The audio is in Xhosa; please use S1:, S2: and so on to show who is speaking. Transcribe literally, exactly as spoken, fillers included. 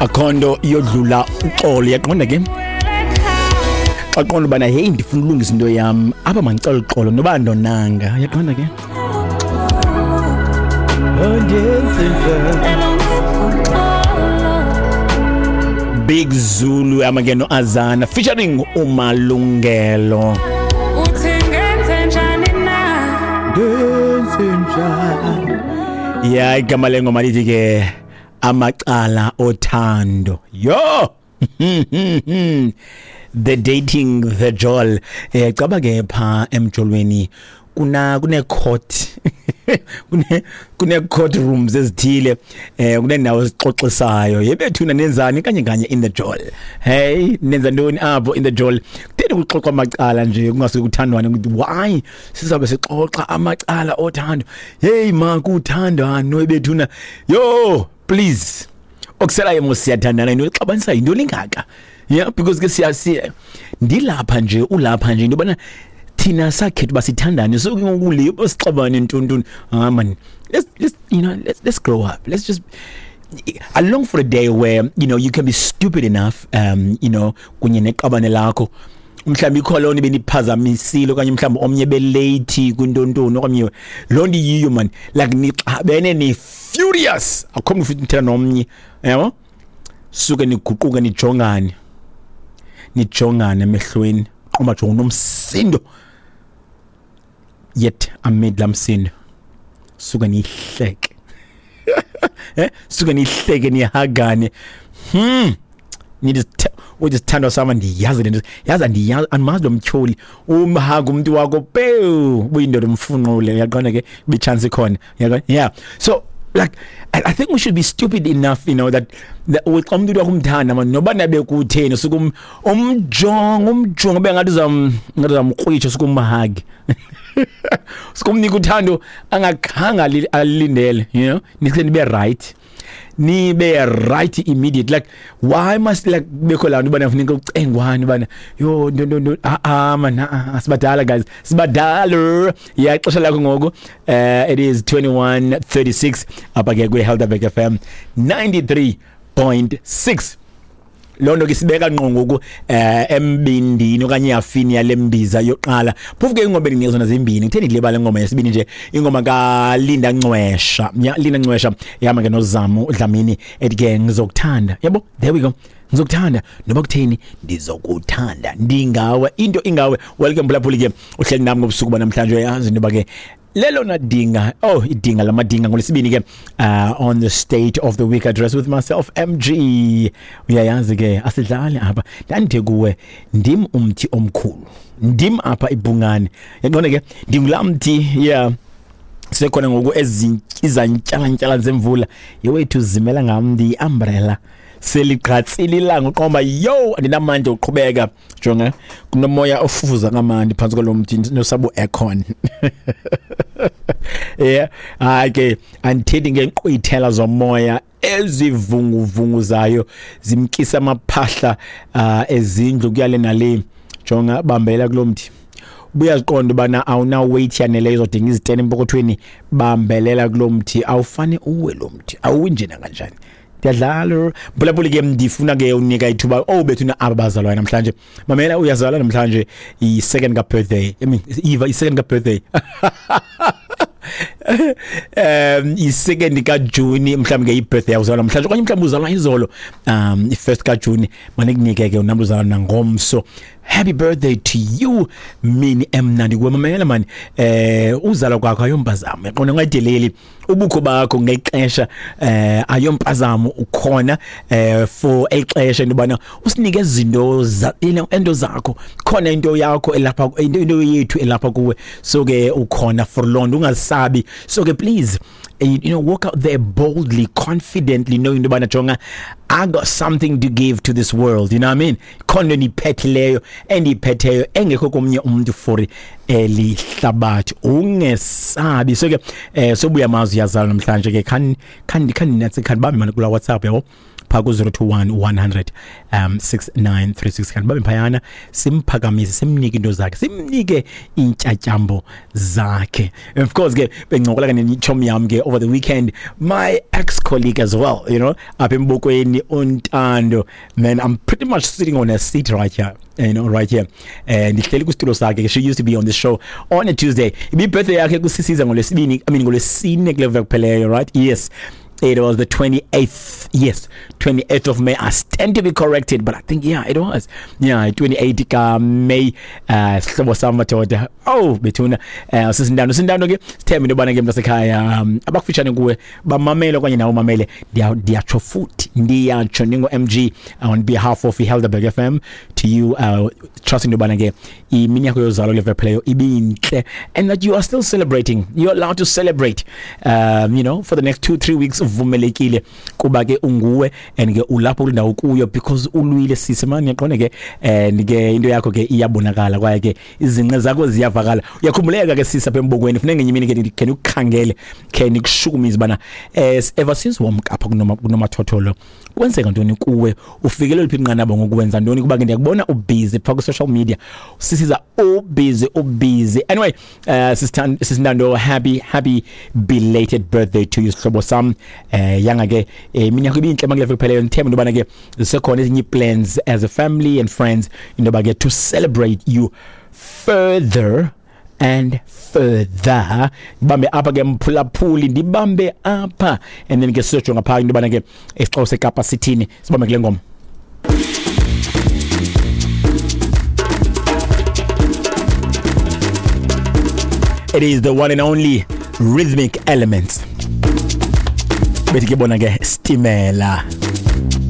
S1: Akho nto yodlula uxolo, yaqonda ke. Xa qonda ubana hey, ndifuna ulungisa into yam apha, mandicela uxolo noba andonanga, yaqonda ke. Big Zulu amake no Azana featuring uMalungelo.
S2: Uthi ngenze njani na?
S1: Ya, igama lengoma lithi ke "Amacala Othando". Yo, the dating, the jol. eh caba ke pha emjolweni kuna kune court, kune kune court rooms ezithile, eh kunendawo ezixoxisayo. Yebethuna, nenzani kanye kanye in the jol? Hey, nenza ntoni apho in the jol? Kutheni kuxoxwa amacala nje, kungasuke kuthandwane? Ukuthi why sizabe sixoxa amacala othando? Hey ma, kuthandano ebethuna. Yo, please, okuselayo mos siyathandana, into exabanisa into lingaka? Yeah, because ke siya siya ndilapha nje, ulapha nje, into yobana thina sakhetha uba sithandane, so ke ngoku le sixabane ntontoni? Ah man, let's let's you know let's let's grow up. Let's just, I long for a day where you know you can be stupid enough um you know kunye neqabane lakho. Mhlawumbi ikho loo nto ibeniphazamisile, okanye mhlawumbi omnye belate kwintontoni, okanye loo nto iyiyo man, like nixabene, ni-furious, akho mntu futhi nithetha nomnye, yabo. Suke niguquke, nijongane nijongane emehlweni, qomba jonga unomsindo, yet amid laa msindo suke niyihleke, eh suke nihleke, nihagane. hmm nithi, "Uthi sithandwa sama, ndiyazi le nto, yazi andiyazi, andimazi lo mtyholi." Umhaga umntu wakho pew, ubuyindoda, umfunqule, uyaqonda ke, ichance ikhona, uyaqonda? Yeah, so like I, I think we should be stupid enough you know that that xa umuntu wakho umthanda man, noba nabe kutheni, suke um, umjonga umjonga ube ngathi uzam ngathi uzamkrwitsha, suke umhug, suke umnika uthando angakhange ali- alilindele you know Nise nibe right, nibe right immediate. Like why must like kubekho laa nto ubana funeka ucengwane ubana yo nto nto nto? Ah ah man, ah ah, sibadala guys, sibadala. Yeah, ixesha lakho ngoku, uh, it is twenty-one thirty-six apha ke kwi-Helderberg F M ninety-three point six. Loo nto ke sibeka ngqo ngoku eh embindini okanye ihafini yale mbiza yoqala. Phofu ke ingoma endinika zona zimbini, kutheni ndilibale ingoma yesibini nje? Ingoma kaLinda Ncwesha. Ya, Linda Ncwesha ihamba ke noZamo Dlamini, ethi ke "Ngizokuthanda". Yabo, there we go. Ngizokuthanda noba kutheni, ndizokuthanda, ndingawe, into ingawe. Welcome mphulaphuli ke, uhleli nami ngobusuku banamhlanje. Uyayazi into yoba ke lelona dinga, oh, idinga lamadinga ngolesibini ke, uh, on the State of the Week Address with myself, M G. Uyayazi ke, asidlali apha. Ndandithe kuwe ndim umthi omkhulu, ndim apha ibhungane, yaqonda ke, ndingulaa mthi. Yeah, sekhona ngoku izantyalantyala zemvula yewethu, zimela ngam, ndiyi-umbrella. Seligqatsile ilanga, uqomba yo, andinamandla uqhubeka. Jonga, kunomoya ofufuza kamandi phantsi kwalo mthi nosabu aircon. Yeah, hayi ke, andithethi ngeenkqwithela zomoya ezivunguvunguzayo, zimkisa amaphahla uh, ezindlu kuyale nale. Jonga, bambela kulo mthi. Ubuyaziqonda ubana awuna weight yaneleyo, izodinga izitena empokothweni. Bambelela kulo mthi, awufane uwe lo mthi, awuwi nje nakanjani. Ndiyadlala mphulaphuli ke, ndifuna ke unika ithuba. Oh bethuna, aba bazalwane namhlanje, mamela, uyazalwa namhlanje, i-second ka-birthday, I mean Eva, i-second ka-birthday, um i-second kaJuni, mhlawumbe ke i-birthday yakho, uzalwa namhlanje, okanye mhlawumbe uzalwa izolo, um i-first kaJuni, manikunike ke unamntu uzalwa nangomso. Happy birthday to you, mini emnandi kuwe. Mamela mani, eh uzalwa kwakho ayompazamo, yaqonda, ungayideleli ubukho bakho ngexesha, eh ayompazamo, ukhona eh for elixesha into yobana usinike izinto, you know into zakho, khona into yakho elapha, into into yethu elapha kuwe. So ke ukhona for loo nto, ungasabi. So ke please, you know walk out there boldly, confidently, knowing into yobana jonga, I got something to give to this world, you know what I mean? Khona endiyiphethileyo, endiyiphetheyo, engekho komnye umuntu for elihlabathi, ungesabi. So ke eh sobuya mazwi, yazalwa namhlanje ke, khani khani khani natsi, khani bambe mani kula WhatsApp, yabo, pha ku zero two one one hundred um six nine three six, kanti babe phayana, simphakamise, simnike into zakhe, simnike intyatyambo zakhe. And of course ke bencokola ke netshomi yam ke. over the weekend, my ex-colleague as well, you know, apha embokweni uNtando. Man, I'm pretty much sitting on a seat right here, you know, right here. And ndihleli kwisitulo sakhe. She used to be on the show on a Tuesday. Ibi-birthday yakhe kusisiza ngolwesibini, I mean ngolwesine kule veki kupheleyo, right? Yes. It was the twenty-eighth, yes, twenty-eighth of May. I stand to be corrected, but I think, yeah, it was. Yeah, twenty-eighth ka May, uh, sihlobo sam madoda. Oh, bethuna, uh, sisindano, sindano ke, sithembe into yobana ke mntasekhaya, um, abakufitshane kuwe, bamamele okanye nawe umamele. Ndiyatsho futhi, ndiyatsho ndingo-M G on behalf of iHelderberg F M to you, uh, trusting into yobana ke imini yakho yozalo le veki ibintle, and that you are still celebrating. You're allowed to celebrate, um, you know, for the next two, three weeks. Uvumelekile kuba ke unguwe and ke ulapho kulindawo kuyo because ulwile sisi mani yaqonda ke and ke into yakho ke iyabonakala kwaye ke izinqe zakho ziyavakala. Uyakhumbuleka ke sisi apha embokweni, funeka ngenye imini ke ke ukhangele ke nikushukumise bana ever since womka apha kunoma kunomathotholo kwenzeka ntoni kuwe, ufikelele phi inqanaba ngokwenza ntoni kuba ke ndiyakubona ubusy pha ku social media sisiza ubusy ubusy. Anyway, uh, Sisintando, happy happy belated birthday to you sihlobo sam. Eh yanga ke iminyaka ibinhle makule kupheleyo, ngithemba into bana ke zisekhona ezinye plans as a family and friends into ba ke to celebrate you further and further. Bambe apha ke mphulaphuli, ndibambe apha and then ke siyojonga pha into bana ke isixeko seKapa sithini, sibambe kule ngoma. It is the one and only Rhythmic Elements. Bethi ke bona ke Stimela.